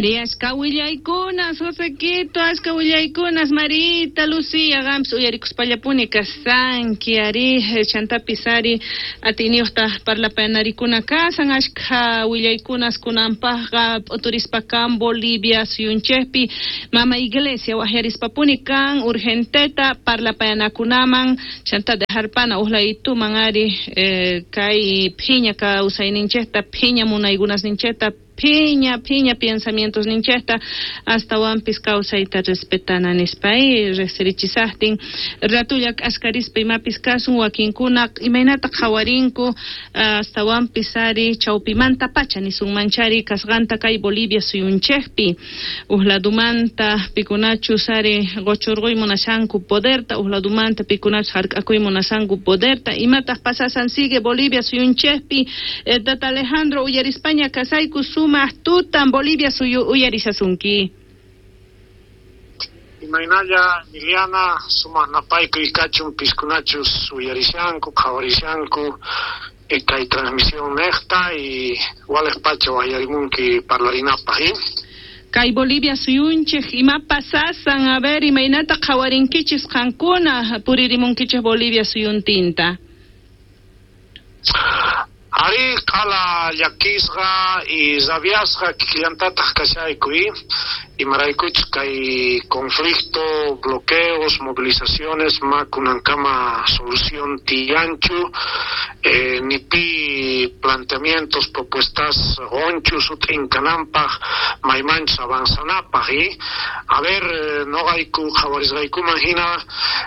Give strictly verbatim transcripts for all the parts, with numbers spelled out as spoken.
Ari, ashka willaykunas, Josequito, ashka willaykunas, Marita, Lucía, qampis uyarikuspallapuni kasanki, ari, chantapis ari, atiyniyuqta parlapayanarikuna kasan, ashka willaykunas kunanpaqqa p'uturispa kan Bolivia suyunchikpi, mama iglesia waqyarispapuni kan urgenteta parlapayanakunaman, chanta dejarpana uqlaytuman ari, eh, kay phiña kawsayninchikta, phiña munaykunasninchikta, phiña, phiña pensamientos ninchikta, astawanpis kawsayta respetana nispa, y riqsirichisaqtin ratulla k'askarispa imapis kasun wakinkuna imaynata qhawarinku astawanpis ari chawpimanta pacha nisunmanchari kasqanta kay Bolivia suyunchikpi uj ladumanta pikunachus ari quchurquy munashanku poderta uj ladumanta pikunachus hark'akuy munashanku poderta imataq pasasan sigue Bolivia suyunchikpi. eh, Tata Alejandro uyarispaña kasayku, sumaq tutan Bolivia suyu uyarishasunki. Imaynalla Emiliana, sumaq napaykuy kachun piskunachus uyarishanku qhawarishanku kay transmisión nejta y waleq pacha wayarimunki parlarinapaq. Kay Bolivia suyunchik ima pasasan, a ver, imaynata qhawarinkichis qankuna puririmunkichis Bolivia suyuntinta. Ari q'ala llakisqa y rabiasqa kikillantataq kashayku imaraykuchus kay conflicto, bloqueos, movilizaciones ma kunankama solución tiyanchu, eh, ni pi planteamientos, propuestas qunchu sut'inkananpaq maymanchus avanzanapaq. Y a ver, noqayku qhawarisqaykuman hina,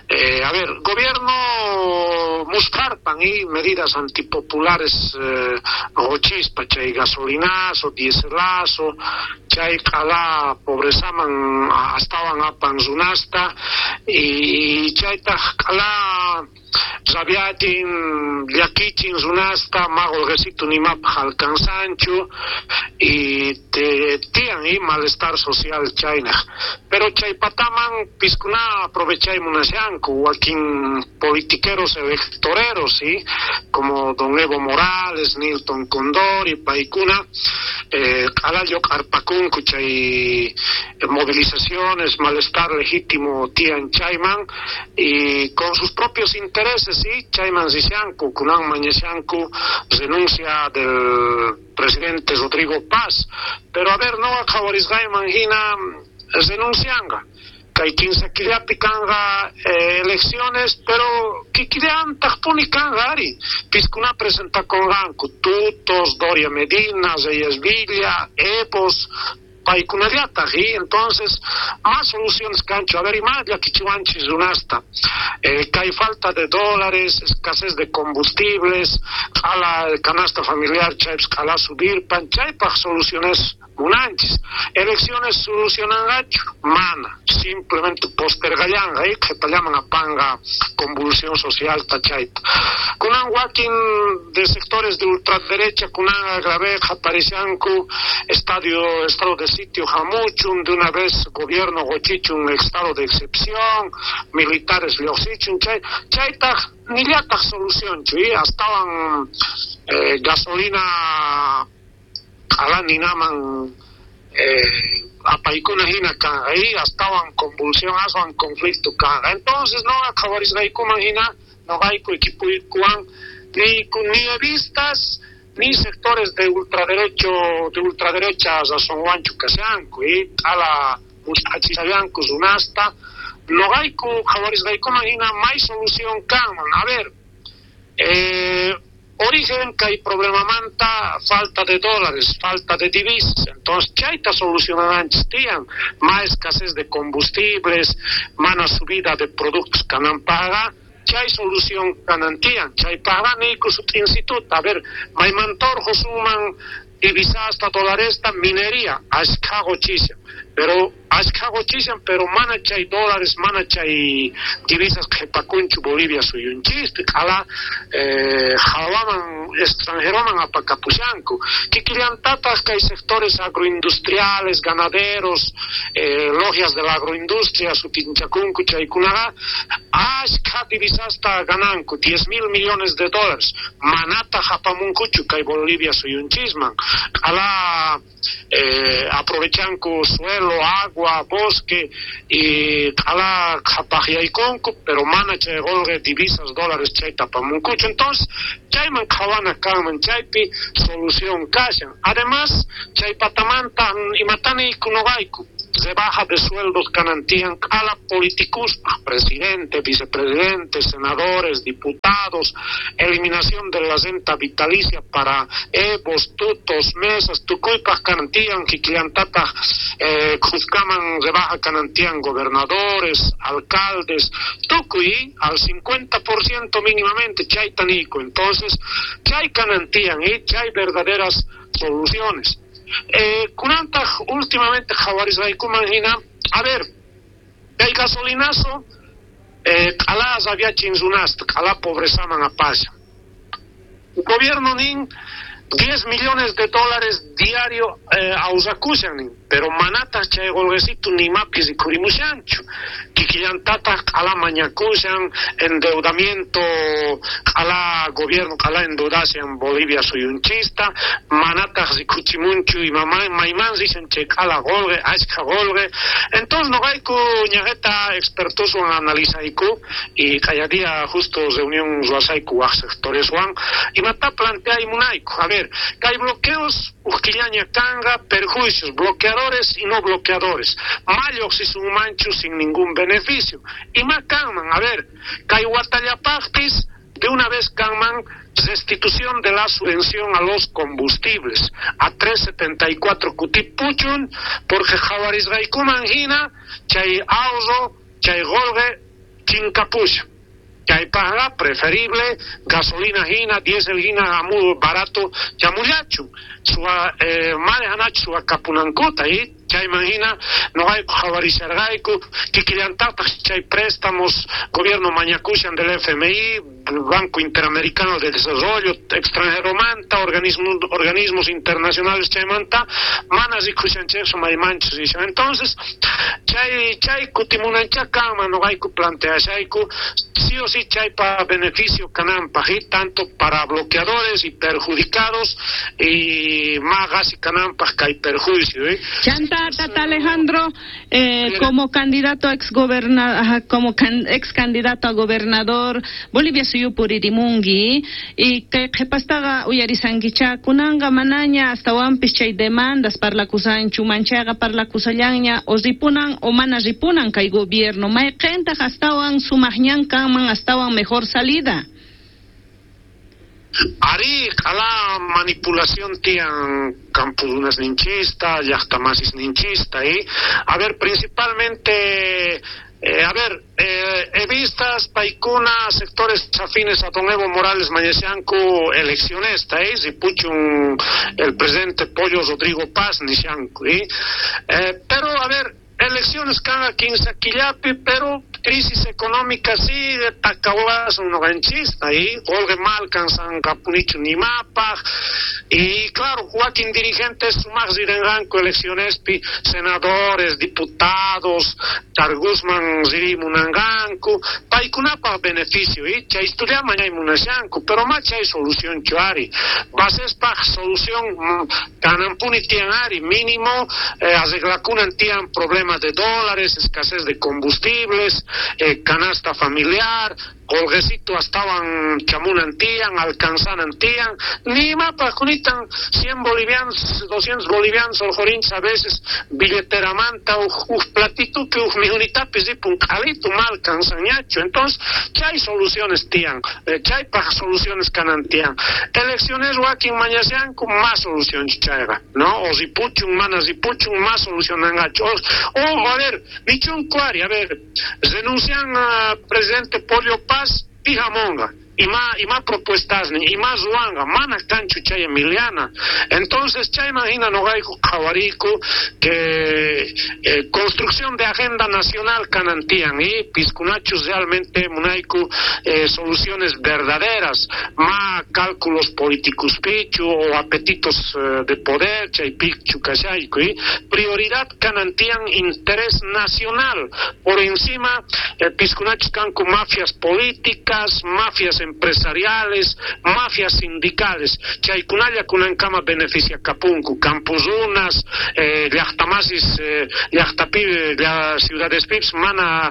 eh, a ver, gobierno musqharpan y medidas antipopulares eh, qochispa chay gasolinazo, dieselazo, chay q'ala pobrezaman astawan apan runasta y chaytaq q'ala rabiatin llakichin runasta ma qolqesitu nimapaq alcanzanchu y te tiyan y malestar social chaynaq, pero chay pataman piskuna aprovechay munashanku wakin politiqueros electoreros, ¿sí? Como don Evo Morales, Nilton Condori, paykuna eh, q'ala lluq'arpakunku chay movilizaciones, malestar legítimo tiyan chayman y con sus propios intereses, ¿sí? Chayman rishanku, kunan mañashanku renuncia del presidente Rodrigo Paz, pero a ver, no qhawarisqayman hina renuncianga kay kinsa killapi kanqa eh, elecciones, pero kikillantaqpuni kanqa ari piskuna presentakunqanku Tutos, Doria Medina, Reyes Villa, Evos, paykunallataq y entonces más soluciones kanchu, a ver, ima llakichiwanchis runasta eh, kay falta de dólares, escasez de combustibles, q'ala canasta familiar chaypis q'ala subirpan, chaypaq soluciones munanchis. Elecciones solucionanqachu mana, simplemente postergallanqa y qhipallaman apanqa convulsión social ta chayta. Kunan wakin de sectores de ultraderecha kunan grave qaparishanku estadio estado de sitio hamuchun, de una vez gobierno qochichun estado de excepción, militares lluqsichun, chay chaytaq nillataq solucionchu y astawan eh, gasolina q'ala ninaman eh, apaykuna hina kanqa y astawan convulsión aswan conflicto kanqa. Entonces no qhawarisqaykuman hina noqayku equipuykuwan ni ni evistas ni sectores de ultraderecho de ultraderecha razonwanchu kashanku y q'ala musq'achishallanku runasta. Noqayku qhawarisqaykuman hina may solución kanman. A ver, eh, origen kay problemamanta falta de dólares, falta de divisas, entonces chayta solucionananchis tiyan, ma escasez de combustibles, mana subida de productos kananpaqqa, chay solución kanan tiyan, chaypaqqa niyku sut'insituta, a ver, maymanta urqusunman divisasta, dolaresta, minería, ashkha qochishan, pero ashkha qochishan, pero mana chay dólares, mana chay divisas qhipakunchu Bolivia suyunchispi, q'ala eh, hawaman extranjeroman apakapushanku, kikillantataq kay sectores agroindustriales, ganaderos, eh, logias de la agroindustria sutinchakunku chaykunaqa ashkha divisasta gananku, diez mil millones de dólares, manataq apamunkuchu kay Bolivia suyunchisman, q'ala eh, aprovechanku suelo, agua, bosque y q'ala qhapaqyaykunku, pero mana chay qolqe divisas dólares chayta apamunkuchu. Entonces chayman qhawana kanman, chaypi solución kashan. Además chay patamanta imatani noqayku rebaja de sueldos kanantian a la políticos, presidente, vicepresidente, senadores, diputados, eliminación de la renta vitalicia para evos, tutos, mesas, tukuypaj kanantian, kikillantataq eh, khuskaman rebaja kanantian gobernadores, alcaldes, tukuy al cincuenta por ciento mínimamente, chayta niyku. Entonces, chay kanantian y chay verdaderas soluciones. Eh, kunantaq últimamente qhawarisqaykuman hina, a ver, el gasolinazo eh, q'ala rabiachin runasta, q'ala pobrezaman apasha. Gobierno nin diez millones de dólares diario eh, awsakushan nin, pero manataq chay qolqesitu nimapis rikhurimushanchu. Kikillantataq q'ala mañakushan, endeudamiento q'ala gobierno q'ala endeudashan Bolivia suyunchista, manataq rikhuchimunchu imama mayman rishan chay q'ala qolqe, ashkha qolqe. Entonces noqayku ñaqeta expertoswan analizayku y kaya día justo reunión ruwasayku waq sectoreswan imata planteaymunayku. A ver, que hay bloqueos, uqquillaña kanga, perjuicios, bloqueadores y no bloqueadores. Malloq si sun manchu sin ningún beneficio. Y más kanman, a ver, kay watallapaqpis de una vez kanman restitución de la subvención a los combustibles a tres setenta y cuatro kutipuchun, porque qhawarisqaykuman hina chay ahorro, chay qolqe chinkapusha. Chaypajqa preferible gasolina hina, diésel hina, amu barato chamullachu. Suwa eh, manejanachu suwa kapunankuta y chayman hina noqayku qhawarisharqayku kikillantataq chay préstamos gobierno mañakushan del F M I, Banco Interamericano de Desarrollo, extranjeromanta, organismos, organismos internacionales chaymanta, mana rikushanchejchu maymanchus rishan. Entonces, chay chay kutimunancha kanman noqayku planteashayku sí o sí chaypa beneficio kananpaj, y tanto para bloqueadores y perjudicados y más gasi kananpaj kay perjuicio, ¿eh? Chanta, Tata Alejandro, eh, como candidato ex goberna, como can, ex candidato a gobernador Bolivia suyupuririmunki y kay qhipastaqa uyarisankicha kunanqa manaña astawanpis chay demandas parlakusanchu manchayqa parlakusallanña o ripunan o mana ripunan kay gobierno mayqintaq astawan sumaqñan kanman astawan mejor salida. Ari, q'ala manipulación tiyan campudunas ninchista, llaqtamasis ninchista, ¿eh? A ver, principalmente, eh, a ver, eh, he vistas paikuna sectores afines a don Evo Morales mañashanku eleccionesta, ¿eh? Ripuchun el presidente Pollo Rodrigo Paz nishanku, ¿eh? Eh, pero, a ver, elecciones cada quince quillapi, pero crisis económica sigue, tacahuas un ganchista, y Olga malcanzan capunicho ni mapa, y claro, Joaquín dirigentes sumas rirenganco elecciones, pi, senadores, diputados, Targuzman zirimunanganco, paikunapa beneficio, y chay estudia mañay munashanco, pero más chay solución chuari, bases pa solución canampuni tianari, mínimo, eh, arreglacunan tian problemas de dólares, escasez de combustibles, eh, canasta familiar, colguecito estaban chamunantían, alcanzanantían, ni mapa junitan cien bolivianos, doscientos bolivianos, oljorinch a veces, billetera manta, uj platito que uj mijunitapis dipun calito mal cansañacho. Entonces, chay soluciones tían, eh, chay pa soluciones canantían. Elecciones wakin mañasian con más solución chayga, ¿no? O zipuchun, mana zipuchun, más solución angacho. O, o, a ver, michun cuari, a ver, renuncian a presidente Pollo Paz, pijamonga, y más, y más propuestas, y más ruanga, mana canchu chay Emiliana. Entonces, chay imagina no hay jawarico que eh, construcción de agenda nacional canantían y piscunachos realmente munaiku eh, soluciones verdaderas, más cálculos políticos pichu o apetitos eh, de poder, chay pichu cachaico, y prioridad canantían interés nacional por encima eh, piscunachos cancu mafias políticas, mafias empresariales, mafias sindicales, chaykunalla kunankama beneficia kapunku, campusunas, eh, llaqtamasis, eh, llaqtapi, la ciudades pips, mana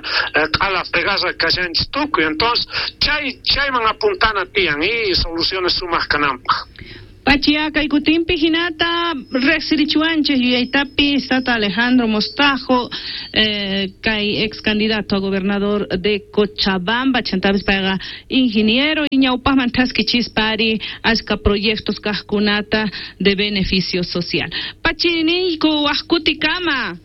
q'ala fregasa kashanchis tukuy. Entonces, chay chayman apuntana tiyan y soluciones sumaq kananpaq. Pachi, kay kutinpi hinata riqsirichiwanchik yuyaytapi Tata Alejandro Mostajo, eh, kay ex candidato a gobernador de Cochabamba, chantapis payqa ingeniero y ñawpaqman thaskichispari achka proyectos kaqkunata de beneficio social. Pachi, niyku waqkutikama.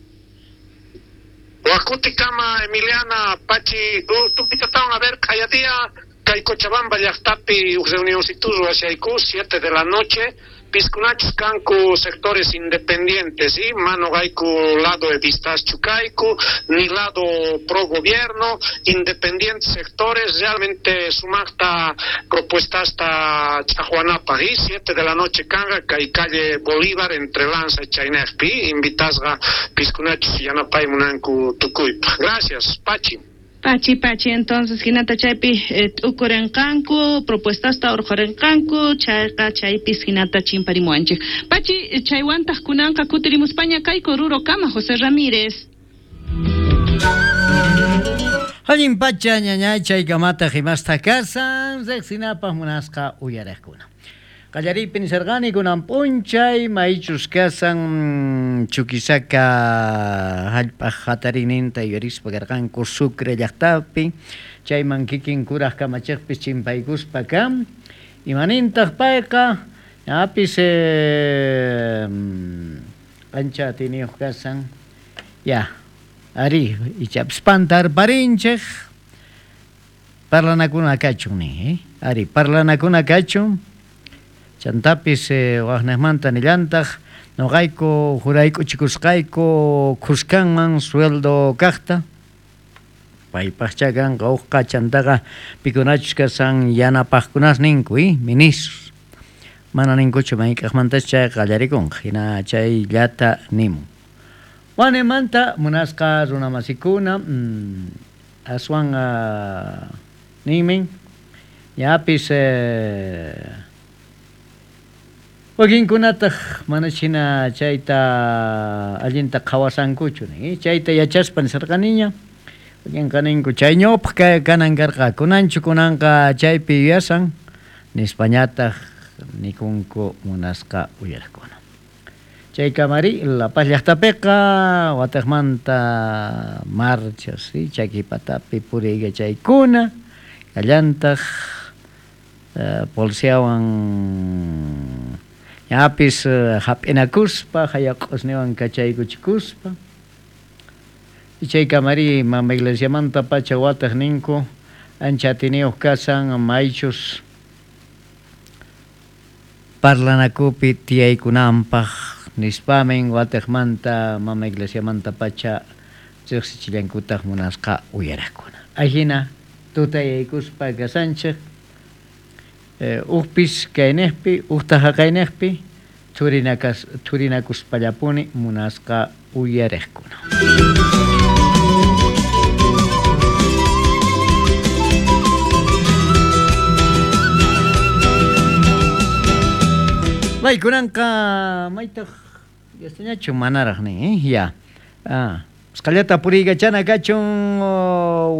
Waqkutikama, Emiliana, Pachi, tupitatawan a ver q'ayadia kay Cochabamba llaqtapi uj reunioncitu ruwashayku siete de la noche, piskunachus kanku sectores independientes, y mano gaiku lado evistaschu kayku, ni lado pro gobierno, independientes sectores, realmente sumaqta propuesta hasta Chajuanapa, y siete de la noche kanga kay calle Bolívar entre Lanza y Chaynejpi, invitasqa piskunachus yanapay munanku tukuypaq. Gracias, Pachi. Pachi, Pachi, entonces, hinata chaypi eh, t'ukurenqanku, propuestasta urqhurenqanku, chayqa chaypis hinata chimparimuwanchik. Pachi, chaywantaq kunanqa kutirimuspaña kayku rurokama, José Ramírez. Allin pacha ñañay chaykamata himasta kasan, riqsinapaq munasqa uyariqkuna. Qallariypi nisarqani kunan p'unchay maychus kasan Chuquisaca hallp'aq hatariyninta yuyarispa karqanku Sucre llaqtapi, chayman kikin kuraq kamachiqpis chimpaykuspa kan, imanintaq payqa ñapis eh, ancha atiniyuq kasan, ya, ari, ichapis pantarparinchik, parlanakuna kachun nin, eh? Ari, parlanakuna kachun. Chantapis eh, waqnaqmanta nillantaq noqayku juraykuchikusqayku khuskanman sueldo kaqta paypaqcha kanqa uqqa chantaqa pikunachus kasan yanapaqkunas ninku, eh? Ministros mana ninkuchu mayk'aqmantas chayqa qallarikunqa hina chayllata nimun. Wanemanta munasqa runamasikuna mm, aswan uh, nimin ñapis eh, wakinkunataq mana hina chayta allinta qhawasankuchu nin, chayta yachaspa nisarqaniña wakinqa ninku chay ñawpaq kanan karqa kunanchu kunanqa chaypi yuyasan nispañataq nikunku munasqa uyariqkuna. Chay kamari La Paz llaqtapiqa wataqmanta marchas, ¿sí? Chakipatapi puriykachaykuna kallantaq uh, policiawan ñapis hap'inakuspa, hayaq'usniwan kachaykuchikuspa. Chay kamari mama iglesiamanta pacha wataq ninku ancha atiniyuq kasan maychus parlanakupi tiyaykunanpaq nispamin wataqmanta mama iglesiamanta pacha riqsichillankutaq munasqa uyaraqkuna. Ajina tutayaykuspa kasanchik Eh, uqpis kaynejpi, uqta haqaynejpi, thurinakas, thurinakuspallapuni munasqa uyariqkuna. Maykunanqa maytaq yastañachu manaraq nin, eh? Ya. Ah. Qallata puriykachana kachun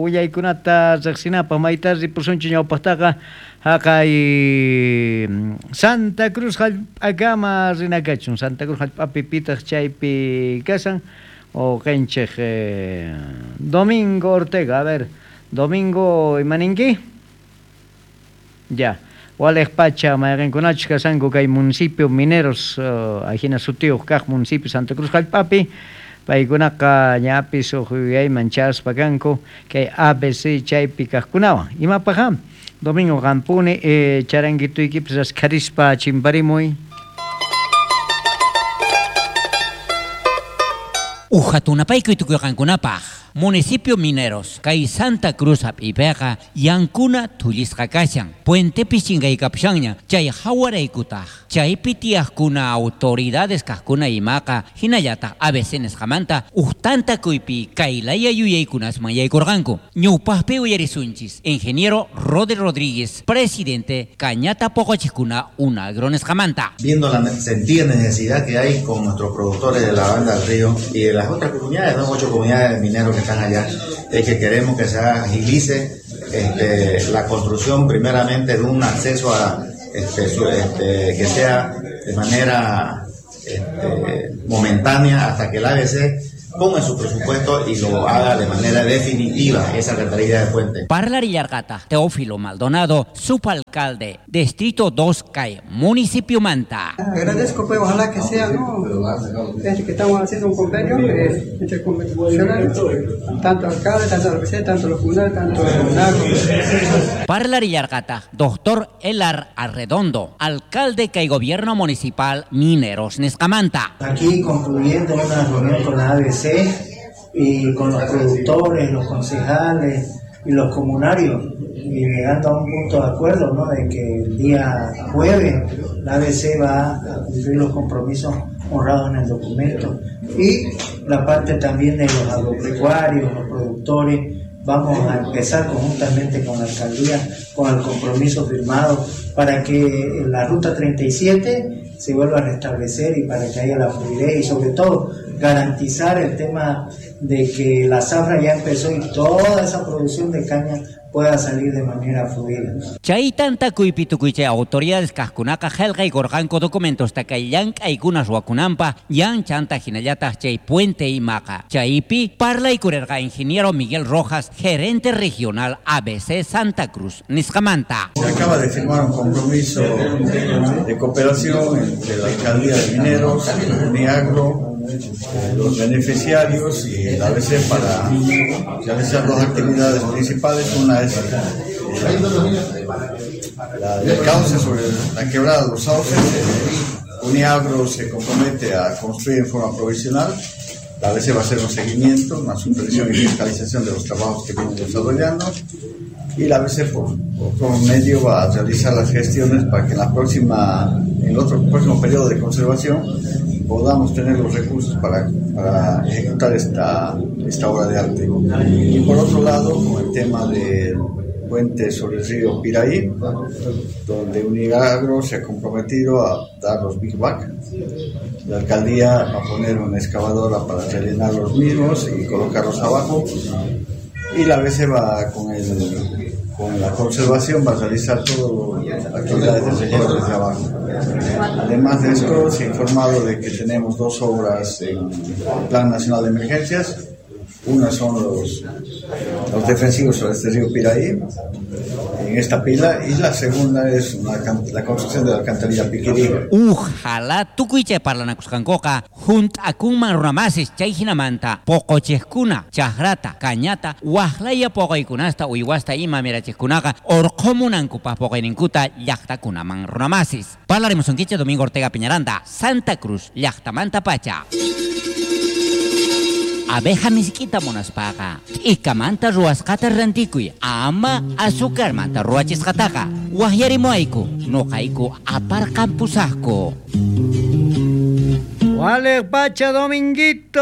willaykunata riqsinapaq mayta ripusunchu ñawpaqtaqa haqay Santa Cruz hallp'akama rina kachun. Santa Cruz hallp'api pitaq chaypi kasan o qinchik eh, Domingo Ortega. A ver, Domingo, imaninki? Ya. Waliq pacha mayqinkunachus kasanku kay municipio mineros uh, ajina sutiyuq kaq municipio Santa Cruz hallp'api paykunaqa ñapis uq yuyayman chaspa kanku kay A B C chaypi kaqkunawan. Imapaq Domingo qampuni eh, charanguituykipis raskharispa chimparimuy. Ujatunapaykuy tukuyqankunapaq. Municipio Mineros, kay Santa Cruz hap'ipiqa yankuna thullisqa kashan. Puentepi chinkaykapushanña chay hawaraykutaq. Chaypi tiyaqkuna autoridades kaqkuna imaqa hinallataq A B C nisqamanta uqtantakuypi kaylaya yuyaykunasman yaykurqanku. Ñawpaqpi uyarisunchis ingeniero Rodri Rodríguez, presidente Cañata Poqochiqkuna Unagro nisqamanta. Viendo la sentida necesidad que hay con nuestros productores de la Banda del Río y de las otras comunidades, ¿no? Ocho comunidades de mineros que están allá, es que queremos que se agilice este, la construcción primeramente de un acceso a este, su, este, que sea de manera este, momentánea hasta que el A B C ponga en su presupuesto y lo haga de manera definitiva esa alcantarilla de puente. Parlarillargata, Teófilo Maldonado, subalcalde, Distrito dos Cay, Municipio Manta. Agradezco, pues, ojalá que sea, ¿no? Este que estamos haciendo un convenio eh, entre convencionales, tanto alcalde, tanto A B C, tanto los comunales, tanto el agro. Parlarillargata, doctor Elar Arredondo, alcalde Cay Gobierno Municipal Mineros Nescamanta. Aquí concluyendo una reunión con la A B C y con los productores, los concejales y los comunarios, y llegando a un punto de acuerdo, ¿no?, de que el día jueves la A B C va a cumplir los compromisos honrados en el documento, y la parte también de los agropecuarios, los productores, vamos a empezar conjuntamente con la alcaldía, con el compromiso firmado para que la ruta treinta y siete se vuelva a restablecer y para que haya la fluidez y sobre todo garantizar el tema de que la zafra ya empezó y toda esa producción de caña pueda salir de manera fluida. Chay tantakuypi tukuy chay autoridades kaqkunaqa qillqaykurqanku documentos takay llank'aykuna ruwakunanpaq yan chanta hinallataq chay puente imaqa. Chaypi parlaykurirqa ingeniero Miguel Rojas, gerente regional A B C Santa Cruz nisqamanta. Se acaba de firmar un compromiso de cooperación entre la Alcaldía de Mineros, Uniagro, los beneficiarios y el A B C para realizar dos actividades principales. Una es la, la del cauce sobre la quebrada de los sauces. Uniagro se compromete a construir en forma provisional. La A B C va a hacer un seguimiento, una supervisión y fiscalización de los trabajos que vienen desarrollando. Y la A B C por, por otro medio va a realizar las gestiones para que en la próxima, en el otro próximo periodo de conservación podamos tener los recursos para, para ejecutar esta, esta obra de arte. Y por otro lado, con el tema del puente sobre el río Piraí, donde Uniagro se ha comprometido a dar los big bag. La alcaldía va a poner una excavadora para rellenar los mismos y colocarlos abajo. Y la A B C va con el, con la conservación va a realizar todas las actividades de relleno desde abajo. Además de esto, se ha informado de que tenemos dos obras en el Plan Nacional de Emergencias. Una son los, los defensivos sobre este río Piraí, en esta pila, y la segunda es una, la construcción de la alcantarilla Piquirí. Ojalá tukuy chay parlanakusqankuqa junt'akunman runamasis chay hinamanta poqochiqkuna chakrata cañata waqlaya poqaykunasta uywasta ima mirachiqkunaqa urqumunankupaq poqayninkuta llaqtakunaman runamasis. Parlarimusunkichik Domingo Ortega Piñaranda, Santa Cruz llaqtamanta pacha. Abeja misk'ita munaspaqa t'ikamanta ruwasqata rantikuy, ama azucarmanta ruwachisqataqa. Waqyarimuayku, nuqayku aparqampusaqku. Wale pacha Dominguito,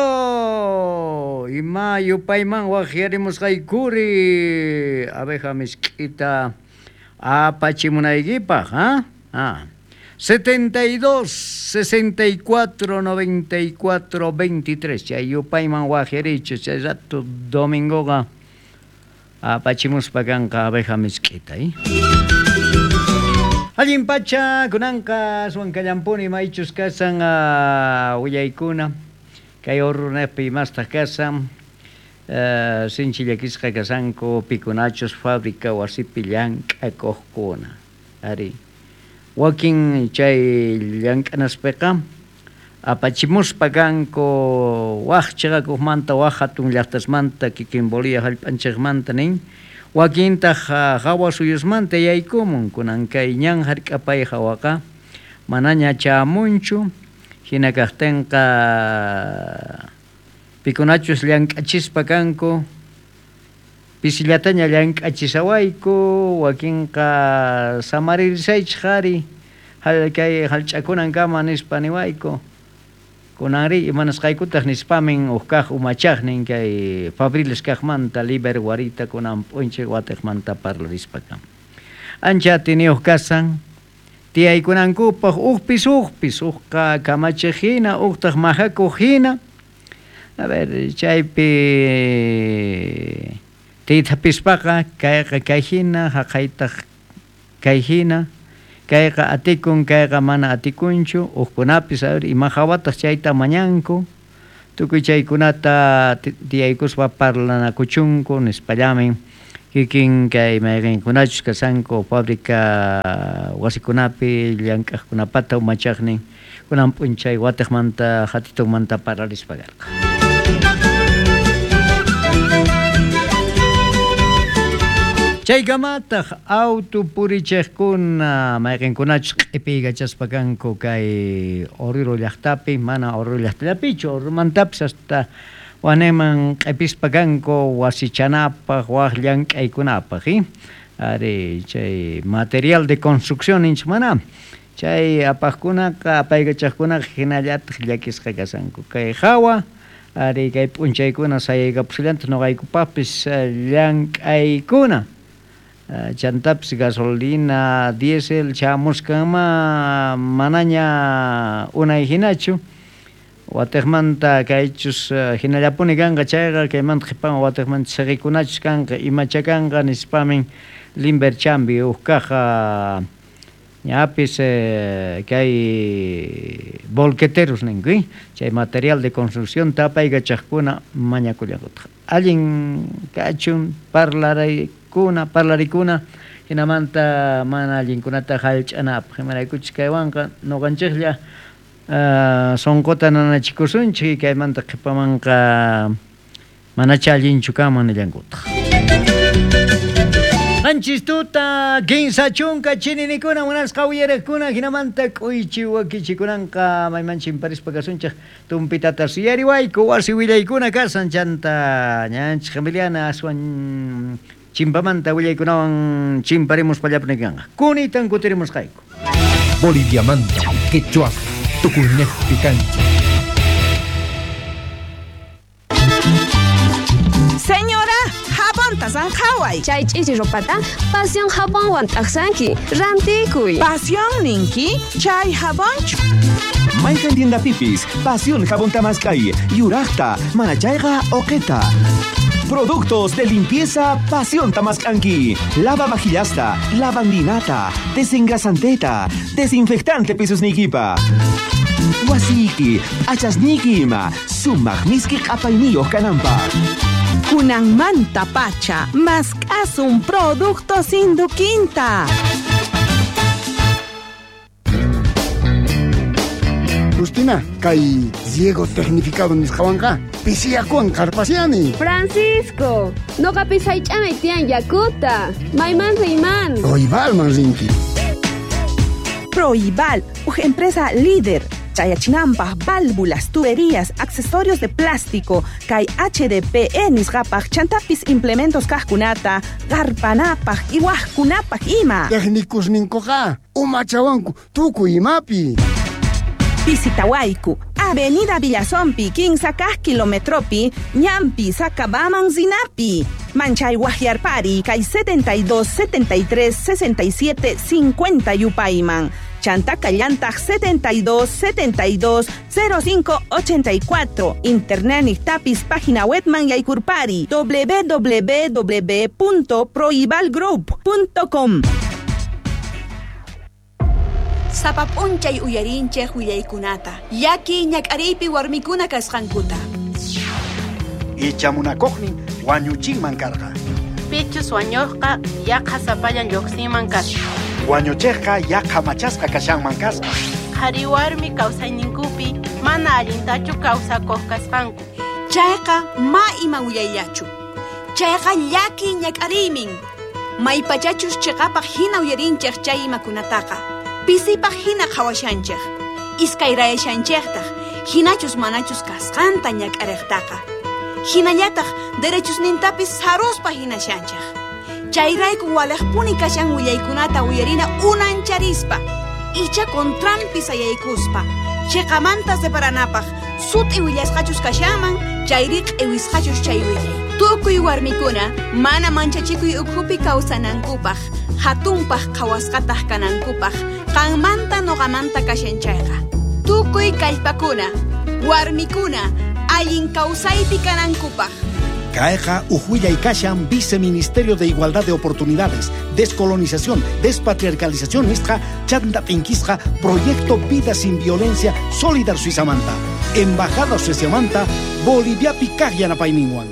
ima yupayman waqyarimusqaykuri abeja misk'ita apachimunaykipaq, ¿ah? Ah. setenta y dos, sesenta y cuatro, noventa y cuatro, veintitrés. Chay yupayman waqyarichu chay rato domingoqa apachimuspa kanqa abeja misk'ita, ¿eh? Allin pacha kunanqa aswan kallampuni maychus kasan uh, willaykuna kay urruneqpi imastaq kasan uh, sinchi llakisqa kasanku pikunachus fábrica wasipi llank'akuqkuna ari wakin chay llank'anaspiqa apachimuspa kanku waq chiqakuqmanta waq hatun llaqtasmanta kikin Bolivia hallp'anchikmanta nin wakintaq hawa suyusmanta yaykumun kunan kay ñan hark'apay hawaqa manaña chamunchu hina kaqtinqa Pikunachus llank'achispa kanku, pisillataña llank'achisawayku, wakinqa samaririshaychik ari, kay hallch'akunankama nispa niwayku. Kunanri imanasqaykutaq nispamin uj kaq umachaqnin kay fabriles kaqmanta Liber Guarita kunan p'unchay watiqmanta parlarispa kan. Ancha atiniyuq kasan tiyaykunankupaq ujpis ujpis, ujqa kamachiq hina, ujtaq majakuq hina. A ver, chaypi tiythapispaqa kayqa kay hina, haqaytaq kay hina, kayqa atikun, kayqa mana atikunchu, ujkunapis, a ver, ima hawataq chayta mañanku, tukuy chaykunata tiyaykuspa parlanakuchunku nispallamin kikin kay mayqinkunachus kasanku fábrica wasikunapi llank'aqkunapata umachaqnin kunan p'unchay watiqmanta hatitunmanta parlarispa karqa. Chaykamataq auto purichiqkuna mayqinkunachus q'ipiykachaspa kanku kay Oruro llaqtapi, mana Oruro llaqtallapichu, Oruromantapis hasta waneman q'ipispa kanku wasichanapaq, waq llank'aykunapaq, eh? Ari chay material de construcción ninchik mana. Chay apaqkunaqa, apaykachaqkunaqa hinallataq llakisqa kasanku. Kay hawa ari kay p'unchaykuna sayaykapusillantaq nuqaykupaqpis llank'aykuna. Chantapis gasolina, diésel chamuskanma manaña unay hinachu. Watiqmanta kaychus hinallapuni kanqa chayqa, kaymanta qhipaman watiqmanta siqikunachus kanqa, imacha kanqa nispamin Limber Chambi uj kaq ñapis kay volqueteros ninku, chay material de construcción tapaykachaqkuna mañakullankutaq. Allin kachun parlaray kuna parlarikuna hinamanta mana allinkunata hallch'anapaq, imaraykuchus kaywanqa nuqanchiklla uh, sunquta nanachikusunchik, kaymanta qhipamanqa manacha allinchu kanman nillankutaq. Qanchis tuta kinsa chunka chininikuna munasqa uyariqkuna hinamanta k'uychi wakichikunanqa mayman chimparispa kasunchik tumpitata suyariwayku wasi willaykuna kasan chanta ñanchik Emiliana aswan chimpamanta willaykunawan chimparimuspa kanqa. Kunitan kutirimusqayku. Boliviamanta, quechua, tukuynejpi kancha. Señora, jabonta sanqhaway. Chay ch'isi ropata Pasión jabonwan t'aqsanki. Rantikuy. Pasión ninki, chay jabonchu. Mayqan tiendapipis, Pasión jabonta mask'ay, yuraqta, manachayqa uqita. Productos de limpieza Pasión Tamascanqui. Lava vajillasta, lavandinata, desengrasanteta, desinfectante pisusnikipa. Wasiki, achasniki ima, sumaq miski q'apayniyuq kananpaq. Kunanmanta pacha, mask'asun productos Induquinta. Justina, kay riego tecnificado nisqawanqa pisiyakuwan qarpasiani. Francisco, noqapis haych'anay tiyan yakuta. Mayman riyman. Proibalman rinki. Proibal, uj empresa líder. Chayachinampaj, válvulas, tuberías, accesorios de plástico, kay H D P E nisqapaj, chantapis implementos kajkunata, qarpanapaj, iwajkunapaj ima. Técnicos ninkuqa, umachawanku, tukuy imapi. Visitawayku, Avenida Villazompi, kinsa kaj kilometropi, Ñampi, Sacabaman, Zinapi. Manchay Guajiarpari, kay setenta y dos, setenta y tres, sesenta y siete, cincuenta Yupayman. Chantaca Llantaj setenta y dos, setenta y dos, cero cinco, ochenta y cuatro. Internet Nictapis, página webman Yaycurpari, doble u doble u doble u punto proibalgroup punto com. Sapap'unchay uyarinchej willaykunata, llaki ñak'ariypi warmikuna kasqankuta. Icha munakuqnin wañuchinman karqa. Pichus wañuqqa yaqa sapallan lluqsinman kasqa. Wañuchiqqa yaqa machasqa kashanman kasqa. Qhari warmi kawsayninkupi mana allintachu kawsakuq kasqanku. Chayqa ma ima willayllachu. Chayqa llaki ñak'ariymin. Maypachachus chiqapaq hina uyarinchej chay imakunataqa. Pisipaq hina qhawashanchej. Iskayrayashanchejtaq, hinachus manachus kasqanta ñak'ariqtaqa. Hinallataq derechosnintapis saruspa hinashanchej. Chayrayku walejpuni kashan willaykunata uyarina unancharispa, icha contranpi sayaykuspa, chiqamanta separanapaq, sut'i willasqachus kashanman, chayri q'iwisqachus chay willay. Tukuy warmikuna mana manchachikuy ukhupi kawsanankupaq, hatunpaq qhawasqataq kanankupaq, qanmanta noqamanta kashan chayqa. Tukuy kallpakuna, warmikuna, allin kawsaypi kanankupaq. Kayqa uj kashan Viceministerio de Igualdad de Oportunidades, Descolonización, Despatriarcalización nisqa, chanta t'inkisqa, Proyecto Vida Sin Violencia, Solidar Suizamanta, Embajada Suiziamanta, Boliviapi kaq yanapayninwan.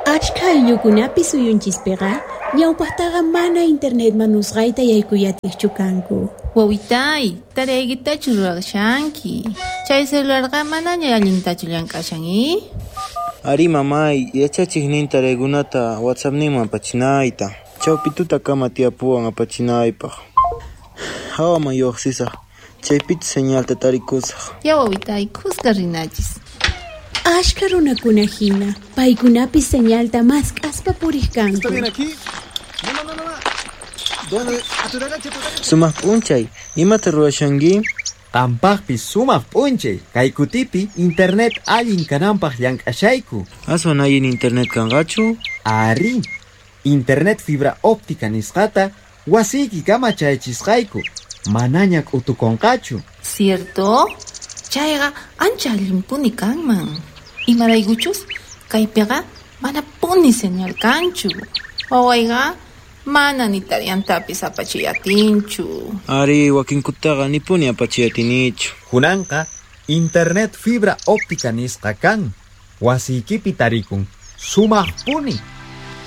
Achka ayllukunapi suyunchispiqa ñawpaqtaqa mana internet manusqayta yaykuyatiqchu kanku. Wawitay, taraykitachu ruwashanki. Chay celularqa manaña allintachu llank'ashan, i? Ari mamay, yachachiqnin taraykunata WhatsAppninman apachinayta. Chawpi tutakama tiyapuwan apachinaypaq. Hawaman lluqsisaq, chaypichu señalta tarikusaq. Ya wawitay, kuska rinachis. Ashka runakuna hina, paykunapis señalta mask'aspa puriq kanku. ¿Está bien aquí? No, no, no, no. ¿Dónde? A tu derecha, a tu derecha. Sumaq p'unchay, imata ruwashanki? Qampaqpis sumaq p'unchay, kay kutipi internet allin kananpaq llank'ashayku. Aswan allin internet kanqachu? Ari, internet fibra óptica nisqata wasiyki kama chayachisqayku, manaña k'utukunqachu. Cierto? Chayqa ancha allinpuni kanman. Imaraykuchus kaypiqa manapuni señal kanchu. Wawayqa mana ni tariyantapis apachiy atinchu. Ari, wakinkutaqa nipuni apachiy atinichu. Kunanqa internet fibra óptica nisqa kan. Wasiykipi tarikun. Sumaqpuni.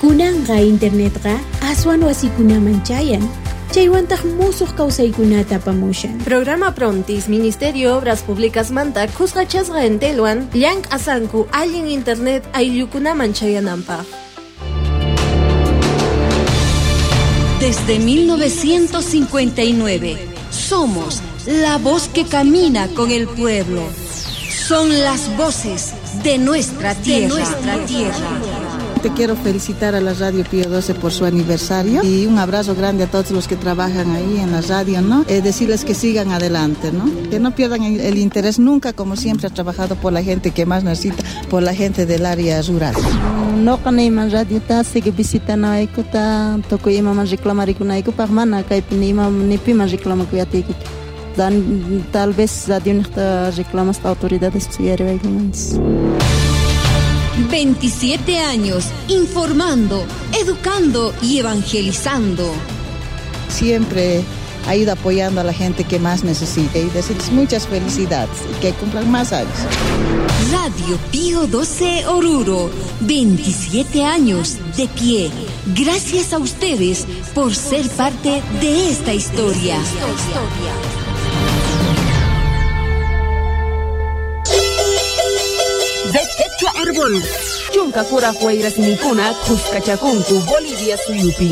Kunanqa internetqa aswan wasikunaman chayan. Chaywantaq musuq kawsaykunata apamushan. Programa Prontis, Ministerio Obras Públicas manta kusqachasqa entelwan llank'asanku allin internet ayllukunaman chayananpaq. Desde mil novecientos cincuenta y nueve, somos la voz que camina con el pueblo. Son las voces de nuestra tierra. De nuestra tierra. Te quiero felicitar a la Radio Pío doce por su aniversario y un abrazo grande a todos los que trabajan ahí en la radio, ¿no? Eh, decirles que sigan adelante, ¿no? Que no pierdan el, el interés nunca, como siempre ha trabajado por la gente que más necesita, por la gente del área rural. No kanayman radiota sigue visitanaykuta, tukuy imaman reclamarikunayku mana kaypi ni ima ni piman reclamakuyatiykuchu. Dan tal vez radio reclamas autoridades suyariwaykumanchis. veintisiete años informando, educando y evangelizando. Siempre ha ido apoyando a la gente que más necesita y decirles muchas felicidades y que cumplan más años. Radio Pío doce Oruro, veintisiete años de pie. Gracias a ustedes por ser parte de esta historia. De Quechua Árbol. Chunka kuraq wayrasninkuna kuskachakunku Bolivia suyupi.